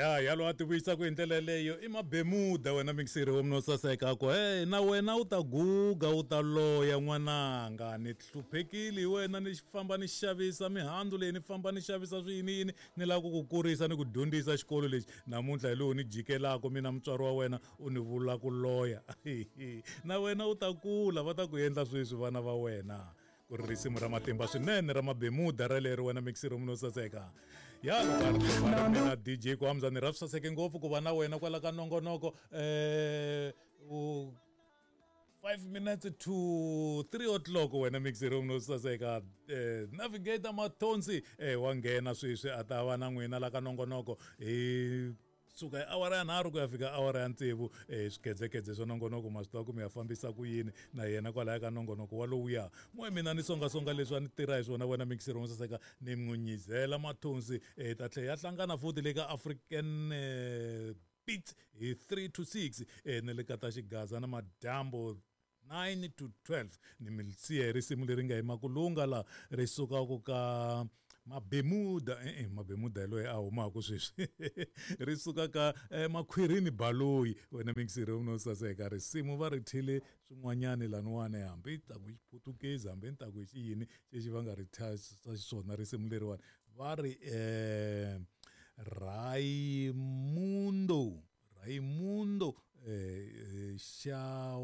Ya yalo a tivuyisaka hi ndlela yeleyo i mabemuda wena mixiri wa munhu saseka ku hey na wena u ta guga u ta loya n'wananga ni hluphekile hi wena ni famba ni xavisa mihandzu leyi ni famba ni xavisa swiyiniyini ni lava ku ku kurisa ni ku dyondzisa xikolo lexi namuntlha hi lowu ni jikelaka mina mutswari wa wena u ni vula ku loya na wena u ta kula va ta ku endla sweswi vana va wena ku ri risimu ra matimba swinene ra mabemuda ralero wena mixiro munhu saseka ya mina DJ Kwamza ni ra swi saseke ngopfu ku va na wena kwala ka nongonoko um 5 minutes to 3 o'clock wena mixiro munhu saseka navigator Mathonsi wa nghena sweswi a ta va na n'wina la ka nongonoko hi suka hi awara ya 3 ku ya fika awara ya 6 swikhedzekhedze swa nongonoko ma swi tiva ku mi ya fambisa ku yini na yena kwalaya ka nongonoko walowuya n'we mina ni songasonga leswi a ni tirha hi swona wena mixiro saseka ni n'wi nyizela Mathonsi ta tlhela ya hlangana futhi le ka African Beats hi 3 to 6 na le ka ta xigaza na madyambu 9 to 12 ni mi siya hi risimu leri nga hi makulunga la ri sukaka ka Mabemuda Mabemuda hi loyi a humaka sweswi ri suka ka Makhwirini Baloyi wena mixiri no saseka risimu va ri thyile swin'wanyani laniwani hambi ta ku xiputukezi hambi ni ta ku xiyini xexi va nga ri thya xiswona risimu leriwani va ri Raimundo Raimundo Xawela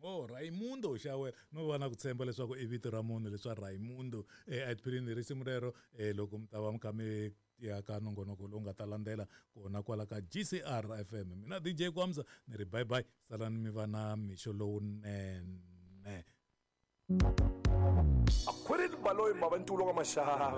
oh Raimundo Xawela no va na ku tshemba leswaku i vito ra munhu leswa Raimundo a tipheleni risimu rero loko mi ta va mi kha mi ya ka nongonoko lowu nga ta landzela kona kwala ka GCR FM mina DJ Kwamza ni ri bye bye salani mi va na mixo lowunene Akhwirini Baloyi Mavantulu ka Maxava.